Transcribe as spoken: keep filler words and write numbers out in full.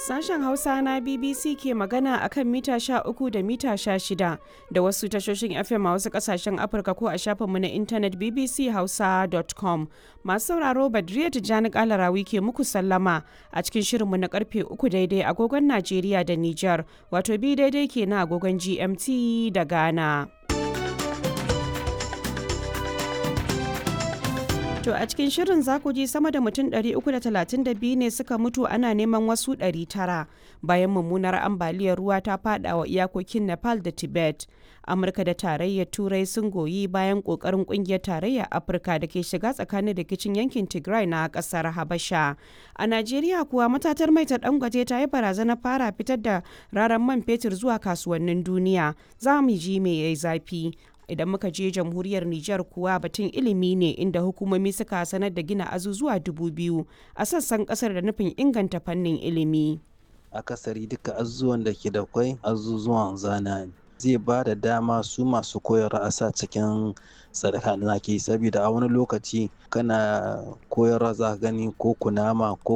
Sashen Hausa na B B C ke magana a kan mita sha uku da mita sha shida da wasu tashoshin F M a wasu kasashen Afirka ko a shafinmu na intanet B B C Hausa dot com. Masu sauraro, Badriya Tijjani Kalarawi ke muku sallama a cikin shirinmu na karfe uku daidai agogon Najeriya da Nijar, wato bi daidai ke na agogon G M T da Ghana. To, a cikin shirin za ku ji sama da mutum ɗari uku da talatin da biyu ne suka mutu, ana neman wasu ɗari tara bayan mummunar ambaliyar ruwa ta fada wa iyakokin Nepal da Tibet. Amurka da Tarayyar Turai sun goyi bayan kokarin kungiyar Tarayyar Afirka da ke shiga tsakanin rikicin yankin Tigray na kasar Habasha. A Najeriya kuwa, matatar mai ta Dangote ta yi barazanar fara fitar da raran man fetur zuwa kasuwannin duniya. Za mu ji me yayi zafi. Idan muka je jamhuriyar Nijar kuwa, batun ilimi ne, inda hukumomi suka sanar da gina azuzuwa dubu biyu a sassan kasar da nufin inganta fannin ilimi. Akasari duka azuzuwan da ke da kwai azuzuwan zana ne. Zai ba da dama su masu koyarwa a sa cikin sadaka da ke, saboda a wani lokaci kana koyarwa za ka gani ko kunama ko